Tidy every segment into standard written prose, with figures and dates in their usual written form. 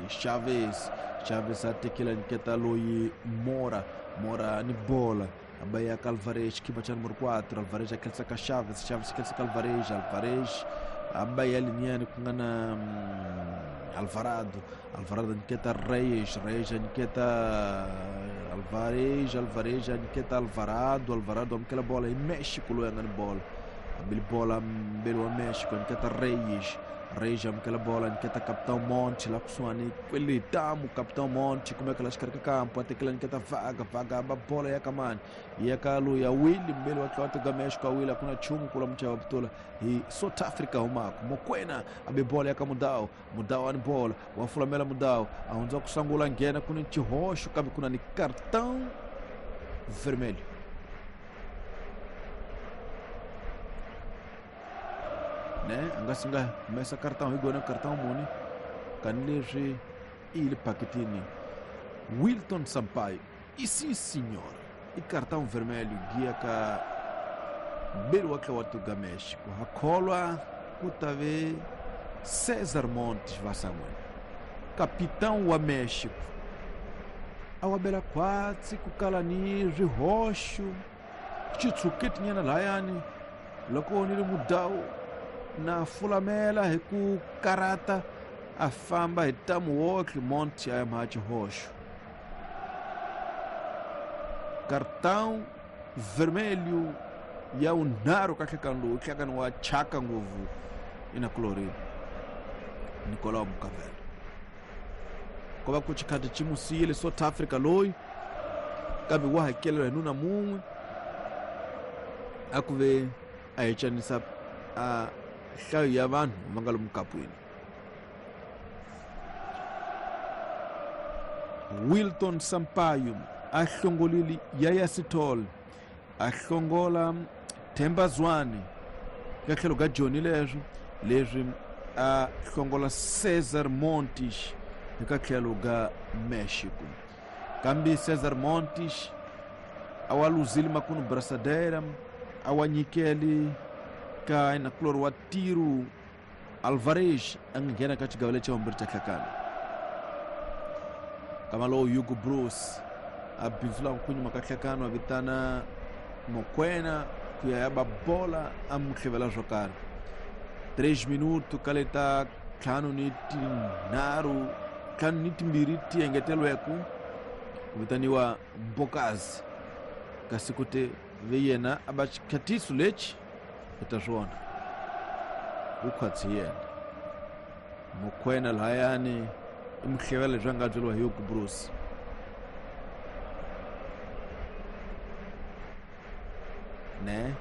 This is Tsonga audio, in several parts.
Chavez. Chavez atekela nyiketa loyi Mora. Mora ni bola abayaka Alvarez, khipa cha número 4. Alvarez akhelisa ka Chavez, Chavez akhelisa ka Alvarez, Alvarez abaya liniani ku nga na Alvarado. Alvarado nyiketa Reyes, Reyes nyiketa Alvarez, Alvarez nyiketa Alvarado, Alvarado amukela bola hi México loyi a nga ni bola. Abili bola mbeli wa México nyiketa Reyes, Reyes amukela bola nyiketa Capitão Monte la kusuhani kwele tamu. Capitão Monte kumeka la xikarhi ka kampo, a tekela nyiketa Vaga, Vaga aba bola ya kamani ya ka loyi ya Willy mbeli wa Tlotlo ga México. A Willy a ku na nchumu kula muchava butula hi South Africa humako. Mokwena abe bola ya ka Mudau, Mudau ani bola wa fulamela Mudau a hundza ku sangula nghena ku ni xihoxo kambe ku na ni cartão vermelho. Ne a nga si nga humesa cartão hi gona cartão muni kani leswi i yile phakitini Wilton Sampaio. E sim senhor, i cartão vermelho giya ka mbeli wa Tlotlo ga México. Ha kholwa ku ta ve César Montes va san'wini, capitão wa México, a wa bela khwatsi ku kala ni swihoxo xitshuketinyana layani loko ni ri Mudau na fulamela hi ku karata a famba hi tamu wotlhe. Monte a ya mha xihoxo, cartão vermelho ya vunharhu ka nhlekani lowu, nhlekani wa chaka ngopfu ina kulorini Nicolau Mukavela. Ko va ku xikhati xi mu siyile South Africa loyi, kambe wa hakeleriwa hi nuna mun'we a ku ve a hi canisa a nhlayo ya vanhu va nga lomu kapwini. Wilton Sampaio a hlongolile Yaya Sithole, a hlongola Themba Zwane ka tlhelo ka Johnny, leswo leswi a hlongola Cesar Montes eka tlhelo ka Mexico. Kambe Cesar Montes a wa luzile makunu brasadera a wa nyikeli ka nakulori wa Tiro Alvarez a nga nghena ka xigava lexi vumbirhi xa hlakana. Kama lowu Hugo Bruce a bindzulaka ku nyuma ka hlakano, a vitana Mokwena ku ya ya ba bola a mu hlevela swo karhi. 3 minuto ka leta ntlhanu ni tinharhu, ntlhanu ni timbirhi ti engetelweke ku vitaniwa Mbokazi, kasi ku te ve yena a ba xikhatiso lexi hi ta swona wu khwatsi yena Mokwena lahayani i muhlevela leswi a nga byeriwa hi Hugo Bruce. Ne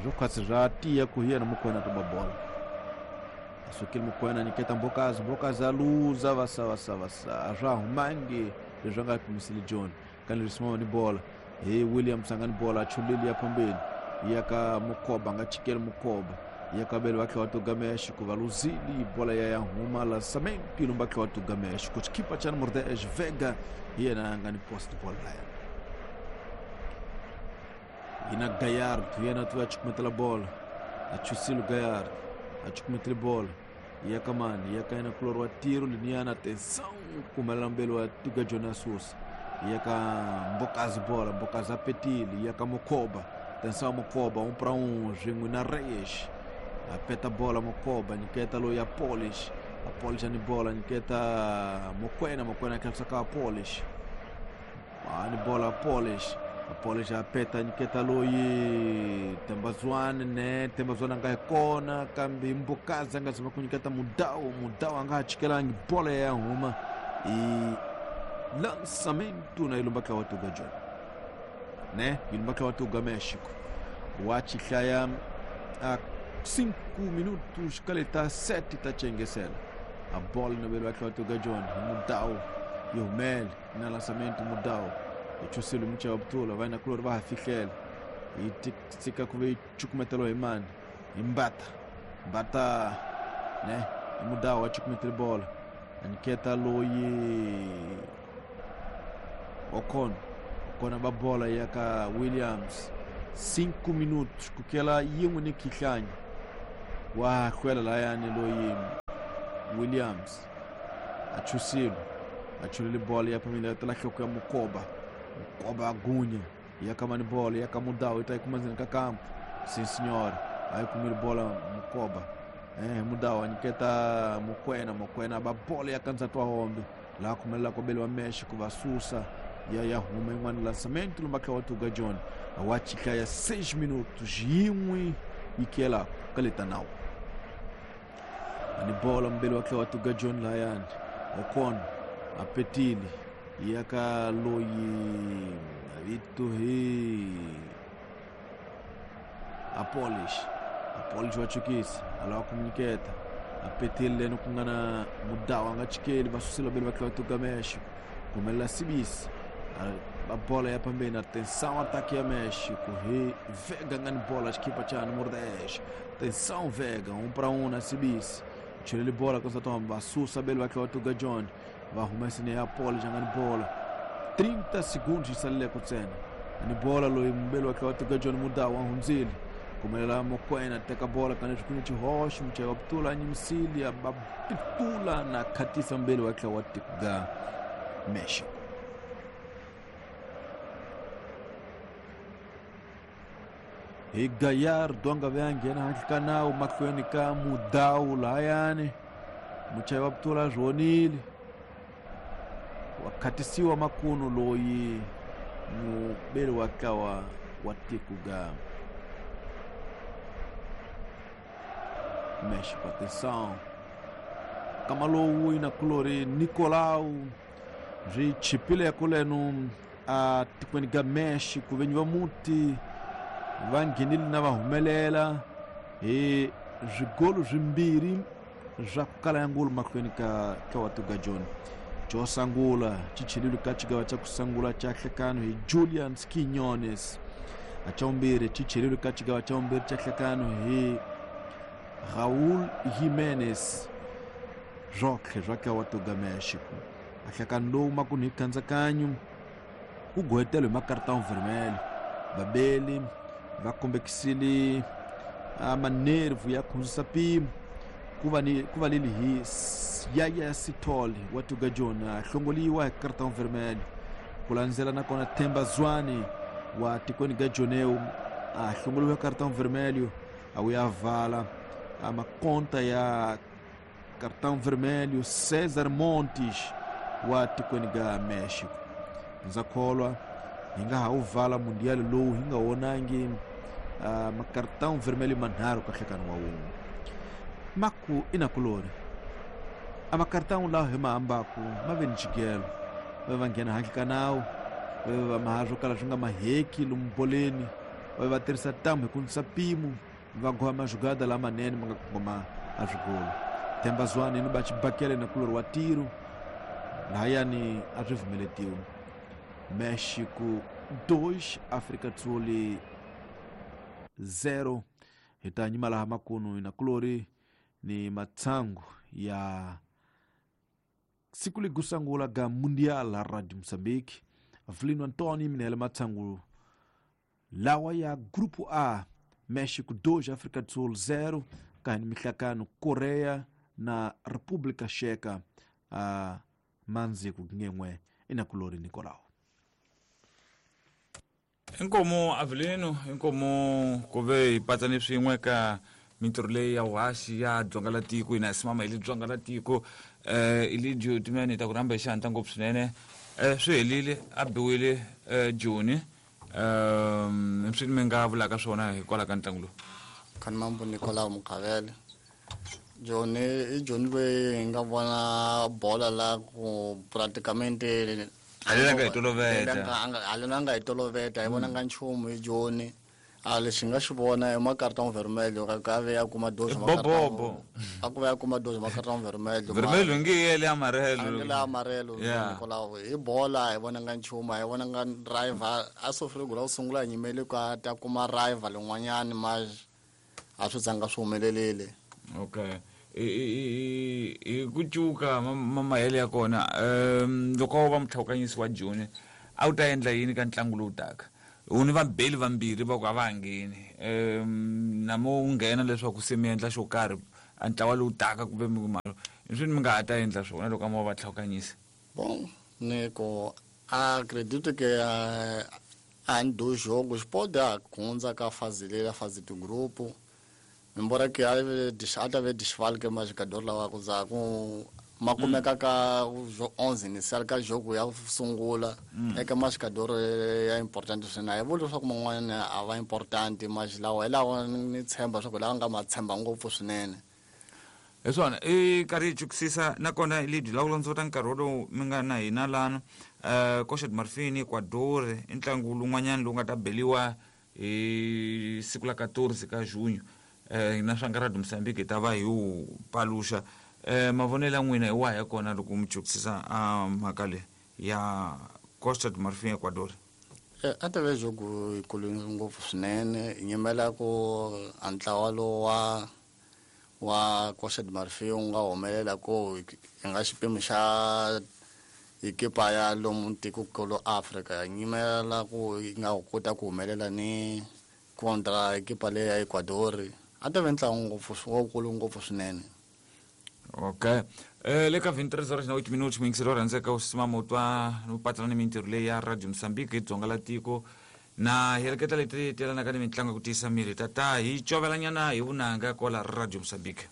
swo khwatsi swa tiya ku hi yena Mokwena to ba bola. A sukile Mokwena nyiketa Mbokazi, Mbokazi a luza vasa vasa vasa, a swa humangi leswi a nga pimisile John. Kani leswi ni bola hi Williams a nga ni bola a chuleli ya phambeni ya ka Mukoba, a nga chikeli Mukoba ya kabelo va tlhela va tuga México va luzili bola ya ya huma lançamento ilumba tlhela va tuga México. Xikipa xa número 10 Vega hi yena a nga ni post ball laya yina Gallardo, yena tu a chukumetela bola a chusile Gallardo a chukumetele bola ya ka mani ya ka yena kulori wa tiro liniyana. Atenção, kumelela mbeli wa tuga Jonas Sousa ya ka Mbokazi, bola Mbokazi apetile ya ka Mokoba. Atenção, Mokoba 1 para 1 swin'we na Reyes, apeta bola Mokoba nyiketa loyi ya Polish, Apolish ani bola nyiketa Mokwena, Mokwena akhelisa ka Apolish ani bola Polish, Apolish apeta nyiketa loyi Tembazwane. Ne Tembazwane a nga hi kona kambe Mbokazi a nga zama ku nyiketa Mudau, Mudau a nga ha chikelangi bola ya huma i lançamento na ilumba tla wa tuga John ne ilumba tla wa tuga México wa chihlaya a 5 minutos kaleta 7 ta chengesela a bola na belo tla wa tuga John Mudau yumel na lançamento Mudau ichusile mucha wa butula vai na kulor va fihlela yi tika ku ve chukumetelo hi mani hi Mbata, Mbata ne Mudau a chukumetele bola aniketa loyi Ocon, Ocon ba bola ya ka Williams. 5 minutos kukela yin'we ni khihlanya wa hlwela layani loyi Williams. Achusilo achulile bola ya pamila tala hloko ya Mukoba. Mukoba agunya ya kamani bola ya kamudao itaikumazina kakampo. Sim senhor, aí kumile bola Mukoba. Mudao aniketa Mukwena, Mukwena ba bola ya kanza twa hombe. La kumela kobele wa México vasusa ya ya huma in'wana lançamento lumbaka wa Tuga John. Awachika ya 6 minutos yin'we yikela kaleta nawo. Ani bola mbele wa wa Tuga John layani. Okon apetili yaka loyi vito hi Apolish. Apolish wachukisa alawa kumniketa apetili leno kungana mudawa angachikeli vasusela bele wa Tuga México. Kumela sibisi a bola ya pambeni, atenção, ataque ya México. Vega ngani bola, equipa cha número 10. Atenção, Vega, 1 para 1 na Sibisi. Tira ele bola, constatou, Bassusa bele wa Tuga John. Vai arrumar esse ne Apolish ngani bola. 30 segundos de salile kutsena. Ani bola lo mbele wa Tuga John mudawa hunzili. Kumela Mokwena teka bola kana chikuni chihoshi mchaya ptula nyimsili abapitula na katisa mbele wa Tuga México. E Gallardo anga vyanghena handle ka nawu mahlweni ka Mudau layani muchayi wa putula rhonile wa khatisiwa makunu loyi mubeli wa ntlawa wa tiko ga México. Atenção, kama lowu ina kulori Nicolau ri chipile ya kulenu a tikweni ga México venyi va muti va nghenile na va humelela hi swigolo swimbirhi swa ku kala ya ngulu mahlweni ka wa Tuga John. Xo sungula xi chelile ka xigava xa ku sungula xa nhlekano hi Julian Quiñones. A xa vumbirhi xi chelile ka xigava xa vumbirhi xa nhlekano hi Raúl Jiménez. Swotlhe swa ka wa Tuga México. A nhlekano lowu makunu hi khandzakanya ku gohetelo hi makartão vermelho. Babeli va kombekisile manervu ya khundzisa mpimo ku va leli hi Yaya Sithole wa Tuga John a hlongoliwa hi cartão vermelho. Ku landzela nakona Themba Zwane wa tikweni ga Joneu a hlongoliwa hi cartão vermelho a wu ya vala a makonta ya cartão vermelho César Montes wa tikweni ga México. Ndza kholwa hi nga ha wu vala mundial lowu hi nga vonangi macartão vermelho manharhu ka nhlekano wa wun'we. Maku inakulori a macartão lawa hi ma ambaku ma ve ni xigelo va va nghena handle ka nawu va va maha swo kala swi nga maheki lomu boleni va va tirhisa ntamu hi ku nisa mpimo va goha majugada lamanene ma nga kongoma a swigolo. Themba Zwane ni ba xibakele na kulori wa tiro lahayani a swi pfumeletiwi. México 2, África do Sul 0. Hi ta nyima laha makunu na kulori ni matsangu ya siku ligusangula ga Mundial la Radio Moçambique. Avelino Antônio minele matsangu lawa ya Grupo A, México 2, África do Sul 0, kahani mihlakano Korea na República Checa a manzi ku ngenwe inakulori Nicolau. Inkomo Avelino, inkomo ku ve hi patsane swin'we ka mintirho leyi ya vuhaxi ya dzonga la tiko hina hi simama hi le dzonga la tiko Elidio Timene ta ku rhamba hi xihatla ngopfu swinene. Swi helile a biwile Joni swi mi nga vulaka swona hikwalaho ka ntlangu lowu. Khanimambo Nicolau Mukhavele. Joni i Joni loyi hi nga vona bola la ku praticamente haleni nga hi toloveta haleni a nga hi toloveta hi vonanga nchumu hi Joni. A lexi nga xi vona i macartão vermelho ka ve ya kuma doze bobobo a ku va ya kuma doze macartão vermelho vermelho nge yele amarelo nge le amarelo Nicolau hi bola hi vonanga nchumu hi vonanga driver a sofile ku la ku sungula hi nyimele ku a ta kuma rival yin'wanyani ma a swi zanga swi humelelile. Okay, hi ku cuka mahele ya kona loko wo va mutlhawukanyisi wa Joni a wu ta endla yini ka ntlangu lowu taka? U ni vabeli vambirhi va ku a va ha ngheni namo wu nghena leswaku se mi endla xo karhi a ntlawa lowu taka kumbe mi I swini mi nga ha ta endla swona loko a mo va tlhawukanyisa? Bom, ni ku acredito que em dois jogos pode hundza ka fase leyi fase de grupo, embora que a ta ve desfalque ma jogador lawa ku za ku ma kumeka ka 11 inicial ka jogo ya sungula eka ma jogador ya importante swinene. A hi vuli leswaku man'wana a va importante, mas lawa hi lawa ni tshemba leswaku lawa nga ma tshemba ngopfu swinene. Hi swona, i karhi hi chukisisa nakona lebyi lawula ndzota nkarhi wolowu mi nga na hina lana. Costa de Marfin, Ecuador i ntlangu lowun'wanyana lowu nga ta beliwa hi siku la 14 ka junho. Na swa Radio Mozambique hi ta va hi wu paluxa. Mavonelo ya n'wina hi wahi ya kona loko mi chukisisa a mhaka leyi ya Costa de Marfin, Ecuador? A ta ve jogo yikulu ngopfu swinene. Hi nyimela ku a ntlawa lowu wa Costa de Marfin wu nga humelela ku hi nga xipimo xa ekipa ya lomu tikokulu Afrika. Hi nyimela ku yi nga kota ku humelela ni contra ekipa leyi ya Ecuador. A ta ve ntlangu ngopfu wukulu ngopfu swinene. Okay, le ka 23 horas na 8 minutos, muyingiseri wa rhandzeka u simama u twa no patsana ni mintirho leyi ya Radio Mozambique hi dzonga la tiko na heleketa leti telanaka ni mitlangu ya ku tiyisa miri. Tata hi covelanyana hi vunanga kwala Radio Mozambique.